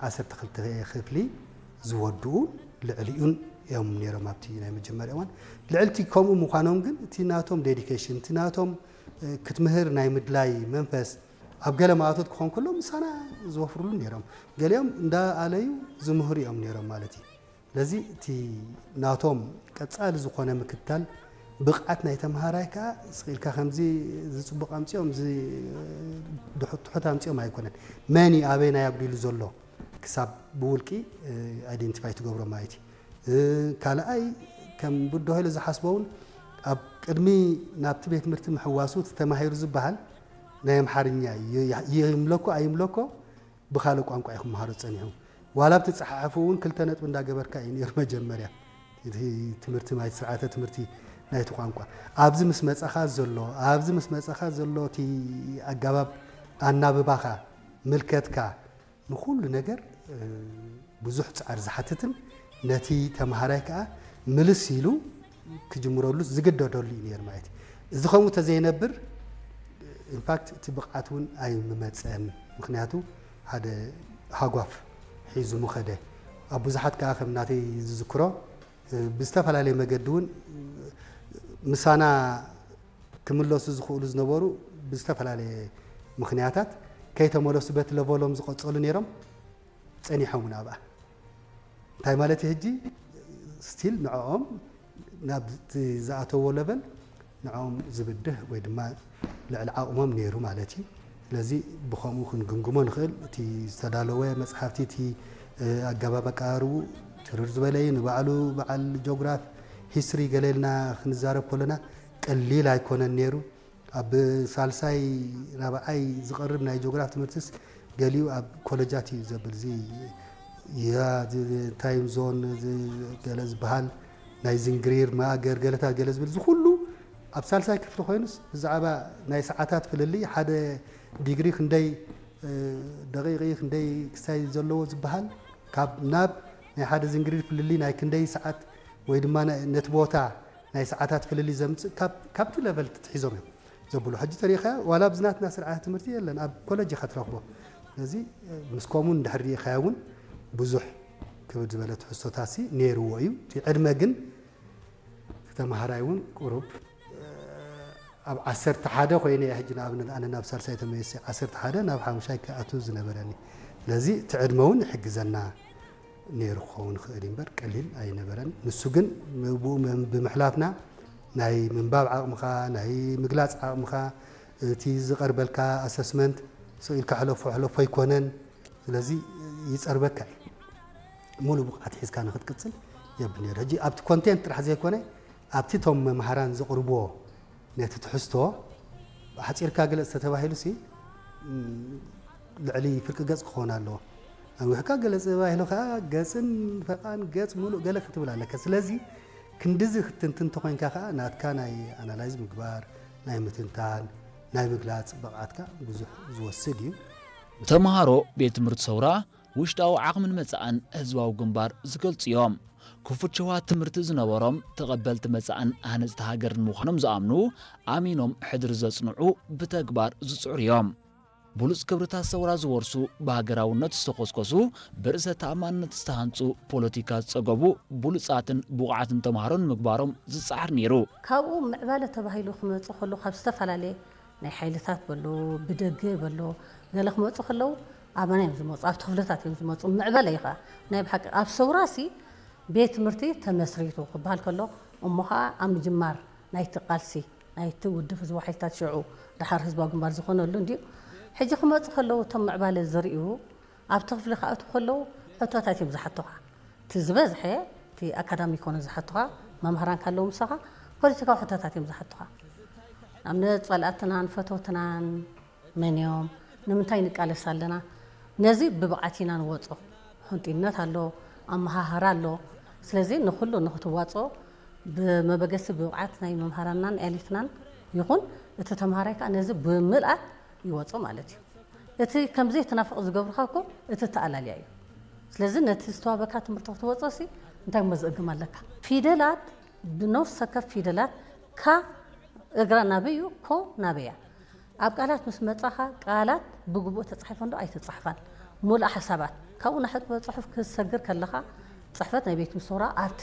ዓሰርተ ክልተ ክፍሊ ዝወድኡ ልዕሊኡን እዮም ነይሮም ኣብቲ ናይ መጀመርያ እዋን። ልዕልቲ ከምኡ ምዃኖም ግን እቲ ናቶም ዴዲኬሽን፣ እቲ ናቶም ክትምህር ናይ ምድላይ መንፈስ ኣብ ገለ ማእቶት ክኾን ከሎ ምሳና ዝወፍርሉ ነይሮም። ገሊኦም እንዳ ኣለዩ ዝምህሩ እዮም ነይሮም ማለት እዩ። ስለዚ እቲ ናቶም ቀጻሊ ዝኾነ ምክትታል ብቕዓት ናይ ተምሃራይ ከኣ ስቕ ኢልካ ከምዚ ዝጽቡቕ ኣምጺኦም እዚ ድሑት ትሑት ኣምጺኦም ኣይኮነን። መን እዩ ኣበይ ናይ ኣጉዲሉ ዘሎ ክሳብ ብውልቂ ኣይደንቲፋይ ትገብሮ ማለት እዩ። ካልኣይ ከም ብድሆ ኢሉ ዝሓስቦ እውን ኣብ ቅድሚ ናብቲ ቤት ትምህርቲ ምሕዋሱ እቲ ተማሂሩ ዝበሃል ናይ ኣምሓርኛ ይምለኮ ኣይምለኮ ብኻልእ ቋንቋ እዩ ክመሃሮ ጸኒሑ። ዋላ ኣብቲ ጸሓሕፉ እውን ክልተ ነጥቢ እንዳገበርካ እዩ ነይሩ መጀመርያ እቲ ትምህርቲ ናይ ስርዓተ ትምህርቲ ናይቲ ቋንቋ ኣብዚ ምስ መጻኻ ዘሎ ኣብዚ ምስ መጻኻ ዘሎ እቲ ኣገባብ ኣናብባኻ ምልከትካ ንኹሉ ነገር ብዙሕ ጻዕሪ ዝሓትትን ነቲ ተምሃራይ ከኣ ምልስ ኢሉ ክጅምረሉ ዝግደደሉ እዩ ነይሩ ማለት እዩ። እዚ ከምኡ ተዘይነብር ኢንፋክት እቲ ብቕዓት እውን ኣይምመፀን። ምክንያቱ ሓደ ሃጓፍ ሒዙ ምኸደ ኣብ ብዙሓት ከኣ ከም ናተይ ዝዝክሮ ብዝተፈላለየ መገዲ እውን ምሳና ክምለሱ ዝኽእሉ ዝነበሩ ብዝተፈላለየ ምኽንያታት ከይተመለሱ በቲ ለቨሎም ዝቐጸሉ ነይሮም ጸኒሖም እውን ኣብኣ እንታይ ማለት ሕጂ ስቲል ንዕኦም ናብ ዝኣተዎ ለቨል ንዕኦም ዝብድህ ወይ ድማ ልዕሊ ዓቕሞም ነይሩ ማለት እዩ። ስለዚ ብኸምኡ ክንግምግሞ ንኽእል። እቲ ዝተዳለወ መፅሓፍቲ እቲ ኣገባብ ኣቀራርቡ ትርር ዝበለ እዩ። ንባዕሉ በዓል ጆግራፍ ሂስትሪ ገለ ኢልና ክንዛረብ ከለና ቀሊል ኣይኮነን ነይሩ። ኣብ ሳልሳይ ራብዓይ ዝቐርብ ናይ ጂኦግራፍ ትምህርትስ ገሊኡ ኣብ ኮለጃት እዩ ዘብል እዚ ታይም ዞን ገለ ዝበሃል ናይ ዝንግሪር ማእገር ገለታት ገለ ዝብል እዚ ኩሉ ኣብ ሳልሳይ ክፍሊ ኮይኑስ ብዛዕባ ናይ ሰዓታት ፍልልይ ሓደ ዲግሪ ክንደይ ደቂቕ ክንደይ ክሳይ ዘለዎ ዝበሃል ካብ ናብ ናይ ሓደ ዝንግሪር ፍልልይ ናይ ክንደይ ሰዓት ወይ ድማ ነቲ ቦታ ናይ ሰዓታት ፍልልይ ዘምፅእ ካብቲ ለቨል ትትሒዞም እዮም ዘብሉ ሕጂ ተሪኢኻዮ ዋላ ኣብዚ ናትና ስርዓተ ትምህርቲ የለን ኣብ ኮለጅ ኢኻ ትረኽቦ ስለዚ ምስ ከምኡ እንድሕር ርኢኻዮ እውን ብዙሕ ክብድ ዝበለ ትሕዝቶታሲ ነይርዎ እዩ እቲ ዕድመ ግን ተምሃራይ እውን ቁሩብ ኣብ ዓሰርተ ሓደ ኮይነ እየ ሕጂ ንኣብነት ኣነ ናብ ሳልሳይ ተመሊሰ ዓሰርተ ሓደ ናብ ሓሙሻይ ክኣቱ ዝነበረኒ ስለዚ እቲ ዕድመ እውን ይሕግዘና ነይሩ ክኸውን ይኽእል እዩ እምበር ቀሊል ኣይነበረን። ንሱ ግን ብኡ ብምሕላፍና ናይ ምንባብ ዓቕምኻ፣ ናይ ምግላፅ ዓቕምኻ፣ እቲ ዝቐርበልካ ኣሰስመንት ስቕ ኢልካ ሕለፎ ሕለፎ ኣይኮነን። ስለዚ ይፀርበካ እዩ። ሙሉእ ብቕዓት ሒዝካ ንክትቅፅል የብል ነይሩ። ሕጂ ኣብቲ ኮንቴንት ጥራሕ ዘይኮነ ኣብቲ እቶም መምሃራን ዘቕርብዎ ነቲ ትሕዝቶ ሓፂርካ ግለፅ ተተባሂሉ ሲ ልዕሊ ፍርቂ ገፅ ክኸውን ኣለዎ። ኣንዊሕካ ገለፅ ተባሂሉ ከዓ ገፅን ፈቓን ገፅ ሙሉእ ገለ ክትብል ኣለካ። ስለዚ ክንድዚ ክትንትን ተኾይንካ ከዓ ናትካ ናይ ኣናላይዝ ምግባር፣ ናይ ምትንታን፣ ናይ ምግላፅ ብቕዓትካ ብዙሕ ዝወስድ እዩ። ተምሃሮ ቤት ትምህርቲ ሰውራ ውሽጣዊ ዓቕምን መጻእን ህዝባዊ ግንባር ዝገልጹ እዮም። ክፉት ሸውሃት ትምህርቲ ዝነበሮም፣ ተቐበልቲ መጻእን ሃነጽቲ ሃገርን ምዃኖም ዝኣምኑ፣ ኣሚኖም ሕድሪ ዘጽንዑ፣ ብተግባር ዝጽዕሩ እዮም። ብሉጽ ክብርታት ሰውራ ዝወርሱ፣ ብሃገራውነት ዝተኾስኮሱ፣ ብርእሰ ተኣማንነት ዝተሃንጹ፣ ፖለቲካ ዝጸገቡ፣ ብሉጻትን ብቑዓትን ተምሃሮ ንምግባሮም ዝጸዓር ነይሩ። ካብኡ ምዕባለ ተባሂሉ ክመጽእ ከሎ ካብ ዝተፈላለየ ናይ ሓይልታት በሎ ብደገ በሎ ገለ ክመፁ ከለዉ ኣበና እዮም ዝመፁ ኣብቲ ክፍልታት እዮም ዝመፁ ምዕበለ እዩ ከዓ ናይ ብሓቂ ኣብ ሰውራ ሲ ቤት ትምህርቲ ተመስሪቱ ክበሃል ከሎ እሞ ከዓ ኣብ ምጅማር ናይቲ ቃልሲ ናይቲ ውድብ ህዝባዊ ሓይልታት ሽዑ ደሓር ህዝባዊ ግንባር ዝኾነሉ እንድዩ ሕጂ ክመፁ ከለዉ እቶም ምዕባለ ዝርእዩ ኣብቲ ክፍሊ ክኣትዉ ከለዉ ሕቶታት እዮም ዝሓቱኻ እቲ ዝበዝሐ እቲ ኣካዳሚ ኮነ ዝሓቱኻ መምሃራን ካለዉ ምሳኻ ፖለቲካዊ ሕቶታት እዮም ዝሓቱኻ ንኣብነት ፀላእትናን ፈተውትናን መን እዮም ንምንታይ ንቃለስ ኣለና ነዚ ብብቕዓት ኢና ንወፆ ሕንጡይነት ኣሎ ኣመሃህራ ኣሎ ስለዚ ንኩሉ ንክትዋፅኦ ብመበገሲ ብብቕዓት ናይ መምሃራንናን ኤሊትናን ይኹን እቲ ተምሃራይ ከዓ ነዚ ብምልኣት ይወፆ ማለት እዩ እቲ ከምዘይትናፍቕ ዝገብርካ እኮ እቲ ተኣላልያ እዩ ስለዚ ነቲ ዝተዋበካ ትምህርቲ ክትወፆ ሲ እንታይ እሞ ዝእግም ኣለካ ፊደላት ብነፍስ ወከፍ ፊደላት ካ እግራ ናበይ እዩ ኮ ናበያ ኣብ ቃላት ምስ መፃኻ ቃላት ብግቡእ ተፃሒፈን ዶ ኣይተፃሕፋን ሙሉእ ሓሳባት ካብኡ ንሕጥበ ጽሑፍ ክትሰግር ከለኻ ጽሕፈት ናይ ቤት ምስውራ ኣብቲ